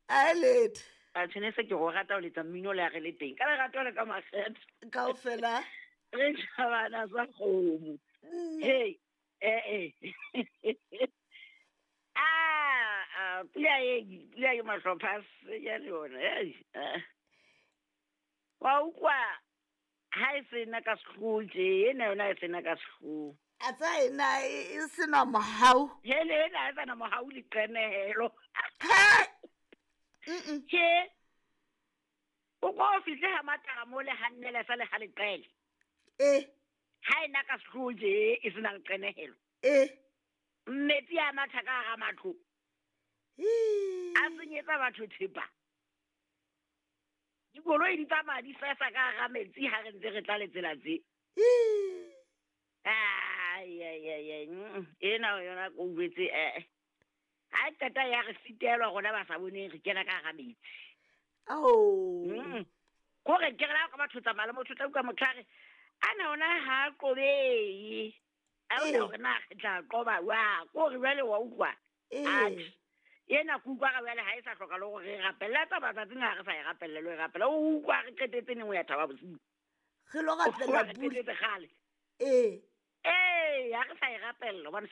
A letho. A tshwene se ke go rata o letsa mmino le a re le teng. Ka lerato le ka makgetho. Kaofela. Re tjhabana sa kgomo. Hey, eh eh. Ah, pula e pula e mahlopha se ya le yona. Hey. Wa utlwa ha e sena ka sehloho tje, ena yona e sena ka sehloho. A tsa ena e sena mohau. Hele ena e sena mohau le qenehelo. Ha! Tje. O ko o fihle ha matara mo le hannele sa le ha leqele. E. Ha ena ka sehloho tje e sena leqenehelo. E. Metsi a matha ka hara matlo. A senyetsa batho thepa. Dikoloi di tsamaya di sesa ka hara metsi ha re ntse re tla le tsela tse. Ai ai ai ai. Ena yona ko utlwetse eh. Ha e qeta ya re sitelwa rona ba sa boneng re kena ka hara metsi. Ao. Kore ke re la ka batho tsamaya le motho tla utlwa motho a re ana ona ha qobehe. A ona hore na re tla qoba wa kore jwale wa utlwa. Atjhe. Ena ke utlwa ga jwale ha e sa hloka le hore re rapelle. Tsa matsatsing ha re sa e rapelle le ho e rapela. O utlwa re qetetse neng ho ya thaba bosiu. Re lo rapella Re qetetse kgale. Ee. Ee, ha re sa e rapella hobane